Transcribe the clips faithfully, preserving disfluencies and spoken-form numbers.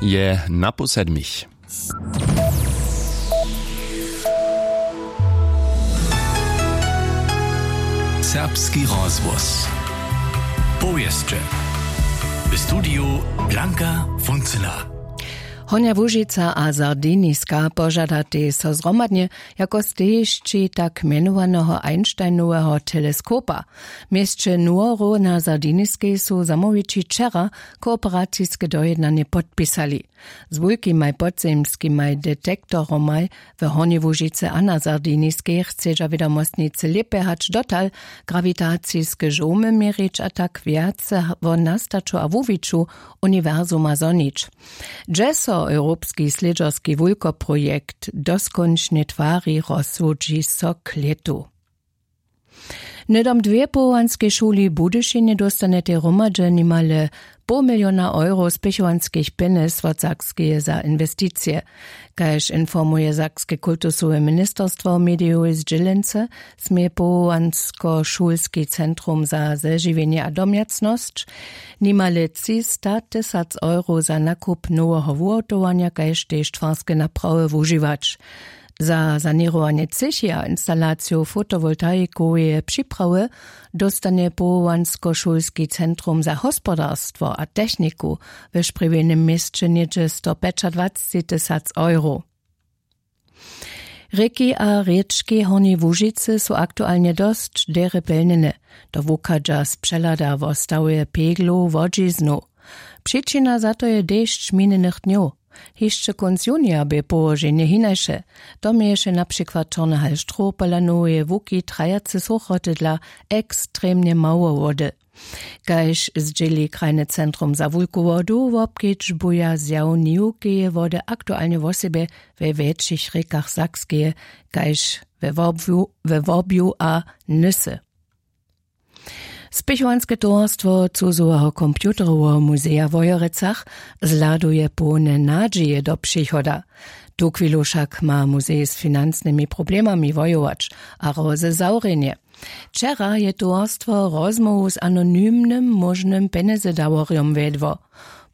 Je na pół sedmich. Serbski rozhłos. Powěsće. W studiju Blanka Funcyna. Hornja Łužica a Sardiniska požadatej so zhromadnje jako stejišći tak mjenowaneho Einsteinoweho teleskopa. W měsće Nuoro na Sardiniskej su zamołwići wčera kooperaciske dojednanje podpisali. Z wulkimaj podzemskimaj detektoromaj w Hornjej Łužicy a na Sardiniskej chcedźa wědomostnicy lěpje hač dotal grawitaciske žołmy měrić a tak wjace wo nastaću a wuwiću uniwersuma zhonić. Hdźe so europski slědźerski wulkoprojekt doskónčnje twari, rozsudźi so k lětu. Hnydom dwě powołanskej šuli w Budyšinje dóstanjetej hromadźe nimale poł miliona euro spěchowanskich pjenjez wot Sakskeje za inwesticije. Kaž informuje sakske kultusowe ministerstwo w medijowej zdźělence, smě powołanskošulski centrum za zežiwjenje a domjacnosć nimale třista tysac euro za nakup noweho wuhotowanja kaž tež twarske naprawy wužiwać. Za saněrowanje třěchi a instalaciju fotowoltaikoweje připrawy dóstanje powołanskošulski centrum za hospodarstwo a techniku we sprjewjenym měsće něhdźe stopjećadwacci tysac euro. Rěki a rěčki Hornjej Łužicy su aktualnje dosć derje pjelnjene. To wuchadźa z přehlada wo stawje peglow wodźiznow. Přičina za to je dešć minjenych dnjow. Hišće kónc junija bě połoženje hinaše. To měješe na přikład čorny hal štrow pola noweje łuki trajace sochoty dla ekstremnje mało wody. Kaž zdźěli krajne centrum za wulku wodu, wobkedźbuja zjaw niwkeje wody aktualnje wosebje we wjetšich rěkach Sakskeje kaž we Wobju, we Wobju a Nysy. Spěchowanske towarstwo cuzoweho computeroweho muzeja w Wojerecach zhladuje połne nadźije do přichoda. Tuchwilu wšak ma muzej z financnymi problemami wojować a hrozy zawrjenje. Wčera je towarstwo rozmołwu z anonymnym móžnym pjenjezedaworjom wjedło.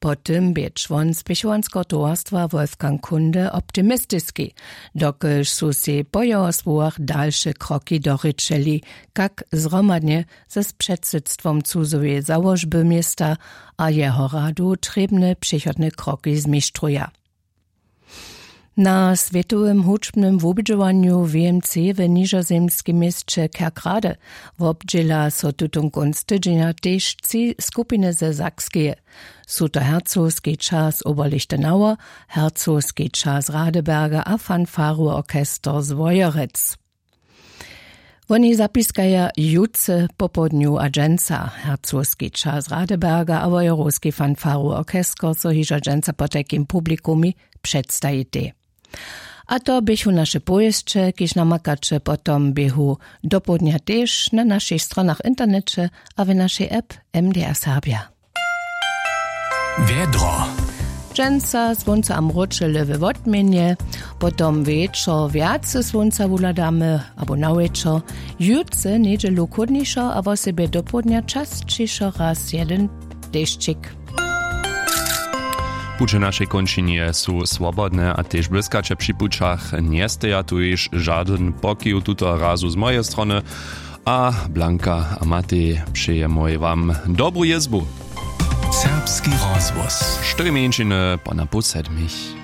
Po tym bě čłon spěchowanskeho towarstwa Wolfgang Kunde optimistiski, dokelž su sej po jeho słowach dalše kroki dorěčeli, kak zhromadnje z předsydstwom cuzoweje załožby města a jeho radu trěbne přechodne kroki zmištruja. Na swětowym hudźbnym wubědźowanju w mc w nižozemskim měsće Kerkrade wobdźěla so tutón kónc tydźenja tež tři skupiny ze Sakskeje. Su to hercogski čas Oberlichtenauer, hercogski čas Radeberger a fanfarowy orchester z Wojerec. Woni zapiskaja jutře popołdnju a dźensa. Hercogski čas Radeberga a wojerowski fanfarowy orchester so hižo dźensa potajkim publikumej předstajitej. A to běchu naše powěsće, kiž namakaće potom běhu dopołdnja tež na našich stronach w interneće a w našej app. M D R Serbja. Wjedro. Dźensa słónce a mróčele we wotměnje, potom wječor wjace słónca wuhladamy abo na wječor. Jutře njedźelu chłódnišo a wosebje dopołdnja časćišo raz jedyn dešćik. Puće našej kónčinje su swobodne a tež błyskaće při pućach njesteja tuž žadyn pokiw tutoho razu z mojeje strony. A Blanka a Matej, přejemoj wam dobru jězbu. Serbski rozhłos. Štyri mjeńšiny po na pół sedmich.